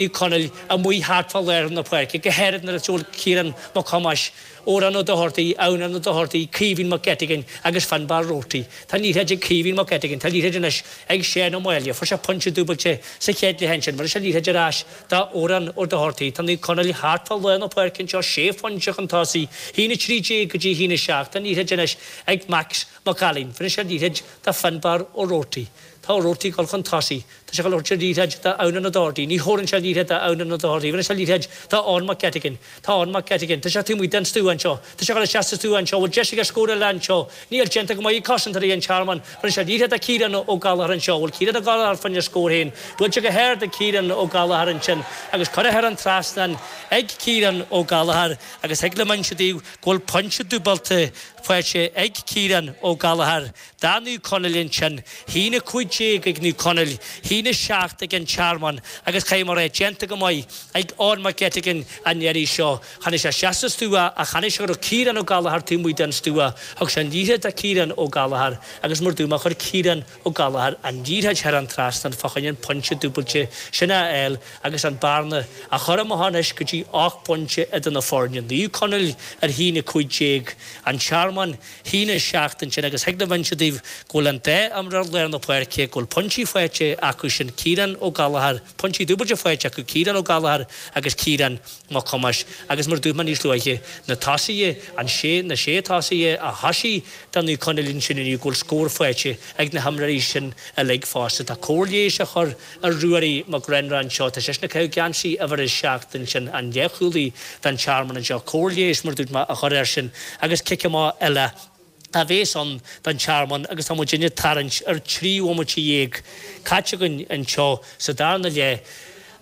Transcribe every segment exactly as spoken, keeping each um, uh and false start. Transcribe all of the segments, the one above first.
Naomh Conaill amuigh thart fá lár na páirce, go háirid nuair a bhfuil Ciarán Mac Thomáis, Odhrán Ó Dochartaigh, Adhamhnán Ó Dochartaigh, Caoimhín Mac Eiteagáin agus Fionnbarr Roarty. Tá an liathróid ag Caoimhín Mac Eiteagáin, tá an liathróid anois ag Seán Ó Máille. Fuair sé pointe dúbailte sa chéad leath ansin. Bhris sé an liathróid ar ais do Odhrán Ó Dochartaigh. Tá Naomh Conaill thart fá lár na páirce anseo, sé phointe chun tosaigh, haon a trí déag go dtí haon a seacht. Tá an liathróid anois ag Max Mac Ailín. Bhris sé an liathróid do Fionnbarr Ó Roarty. Tá Ó Roarty ag dul chun tosaigh. Tá sé ag dul a thabhairt an liathróid do Adhamhnán Ó Dochartaigh. Ní thabharann sé an liathróid do Adhamhnán Ó Dochartaigh. Bhris sé an liathróid do Eoin Mac Eiteagáin. Tá Eoin Mac Eiteagáin. Tá sé taobh amuigh den stua anseo. Tá sé ag dul isteach sa stua anseo. Bhfuil deis aige scór eile anseo? Níl. Déanta go maith ag cosantóirí an Tearmainn. Bhris sé an liathróid do Ciarán Ó Gallchóir anseo. Bhfuil Ciarán Ó Gallchóir fá choinne scór féin? Buailte go hard ag Ciarán Ó Gallchóir ansin agus curtha thar an trasnán ag Ciarán Ó Gallchóir agus thig liom inse daoibh go bhfuil pointe dúbailte faighte ag Ciarán Ó Gallchóir do Naomh Conaill ansin. Haon a cúig déag ag Naomh Conaill, haon a seacht ag an Tearmann agus caithfidh mé a rá, déanta go maith ag Eoin Mac Eiteagáin an iarraidh seo. Tháinig sé isteach sa stua ach chonaic sé go raibh Ciarán Ó Gallchóir taobh amuigh den stua. Thug sé an liathróid do Ciarán Ó Gallchóir agus mar dúirt mé chuir Ciarán Ó Gallchóir an liathróid thar an trasnán fá choinne an pointe dúbailte sin a fháil agus an bearna a chur amach anois go dtí ocht bpointe idir na foirne. Naomh Conaill ar haon a cúig déag, An Tearmann haon a seacht ansin agus thig liom inse daoibh go bhfuil an dá imreoir lár na páirce, go bhfuil pointí faighte acu sin, Ciarán Ó Gallchóir, pointí dúbailte faighte acu, Ciarán Ó Gallchóir agus Ciarán Mac Thomáis agus mar a dúirt mé níos luaithe, na tosaithe, an sé, na sé tosaithe a thosaigh do Naomh Conaill ansin inniu, go bhfuil scór faighte ag na himreoirí sin uilig fosta. Tá cóir leighis á chur ar Ruairí Mac Réanáin anseo, tá seisean ag caitheamh geansaí uimhir a seacht ansin, an leathchúlaí don Tearmann anseo, cóir leighis mar a dúirt mé á chur air sin agus cic amach eile a bhéas ann don Tearmann agus tá muidinne ag tarraingt ar trí bhomaite dhéag caite againn anseo sa darna leath.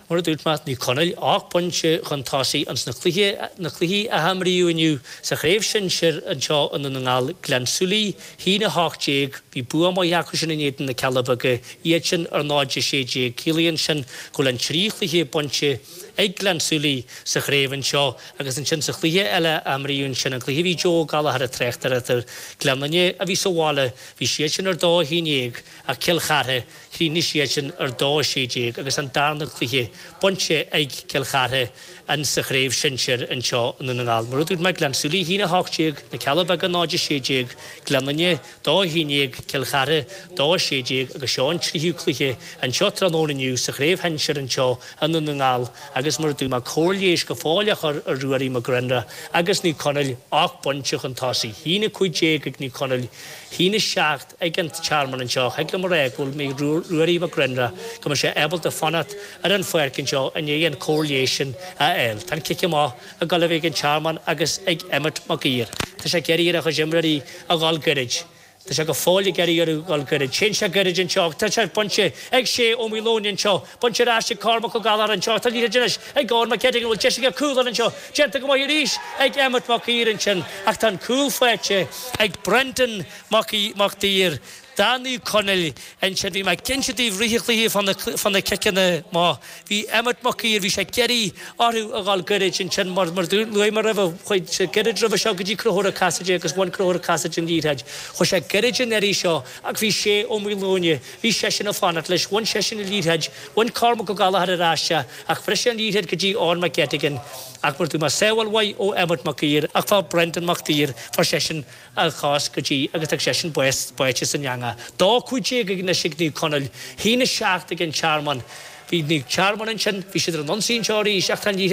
Mar a dúirt mé, Naomh Conaill ocht bpointe chun tosaigh ins na cluiche, na cluichí a himríodh inniu sa chraobh shinsir anseo i nDún na nGall, Gleann tSúilí, haon a hocht déag, bhí bua maith acu sin in éadan na Cealla Beaga, iad sin ar náid a sé déag. Ciallaíonn sin go bhfuil an trí chluiche bainte ag Gleann tSúilí sa chraobh anseo agus ansin sa chluiche eile a imríodh ansin, an cluiche a bhí Joe Ó Gallchóir ag tráchtaireacht air, Gleann Fhinne a bhí sa bhaile, bhí siad sin ar dó a haon déag ach Cill Chartha, Chríochnaigh siad sin ar dó a sé déag agus an darna cluiche bainte ag Cill Chartha in sa chraobh shinsir anseo i nDún na nGall. Mar a dúirt mé, Gleann tSúilí a haon a hocht déag, Na Cealla Beaga náid a sé déag, Gleann Fhinne dó a haon déag, Cill Chartha dó a sé déag agus seo an tríú cluiche anseo tráthnóna inniu sa chraobh shinsir anseo i nDún na nGall agus mar a dúirt mé, cóir leighis go fóill á chur ar Ruairí Mac Grianna agus Naomh Conaill ocht bpointe chun tosaigh, haon a cúig déag ag Naomh Conaill, haon a seacht ag an Tearmann anseo. Thig liom a rá go bhfuil mé Ruairí Mac Grianna, go mbeidh sé ábalta fanacht ar an pháirc anseo i ndiaidh an cóir leighis sin a fháil. Tá an cic amach ag dul a bheith ag an Tearmann agus ag Emmet Mac Uidhir. Tá sé ag iarraidh ar a chuid imreoirí a dhul gairid. Tá sé go fóill ag iarraidh orthu dhul gairid. Téann sé gairid anseo. Tá sé bainte ag Shay Ó Maoileoin anseo. Bainte ar ais ag Cormac Ó Gallchóir anseo. Tá liathróid anois ag Eoin Mac Eiteagáin. An bhfuil deis aige cúl a fháil anseo? Déanta go maith arís ag Emmet Mac Uidhir ansin ach tá an cúl faighte ag Brendan Mac Uidhir do Naomh Conaill ansin. Bhí mé ag inse daoibh i rith an chluiche fá na ciceanna amach. Bhí Emmet Mac Uidhir, bhí sé ag iarraidh orthu a dhul gairid ansin mar mar luaigh mé roimhe, chuaigh sé gairid roimhe seo go dtí Conchúr Ó Casaide agus bhain Conchúr Ó Casaide an liathróid. Chuaigh sé gairid an iarraidh seo ach bhí Shay Ó Maoileoin, bhí seisean ag fanacht leis, bhain seisean an liathróid, bhain Cormac Ó Gallchóir ar ais é ach bhris sé an liathróid go dtí Eoin Mac Eiteagáin ach mar dúirt mé, sábháil mhaith ó Emmet Mac Uidhir ach fuair Brendan Mac Uidhir, fuair seisean a chos go dtí agus tá seisean báite san eangach. Dó cúig déag anois ag Naomh Conaill, haon a seacht ag an Tearmann. Bhí Naomh Tearmann ansin, bhí siad ar an ionsaí anseo arís ach tá an liathróid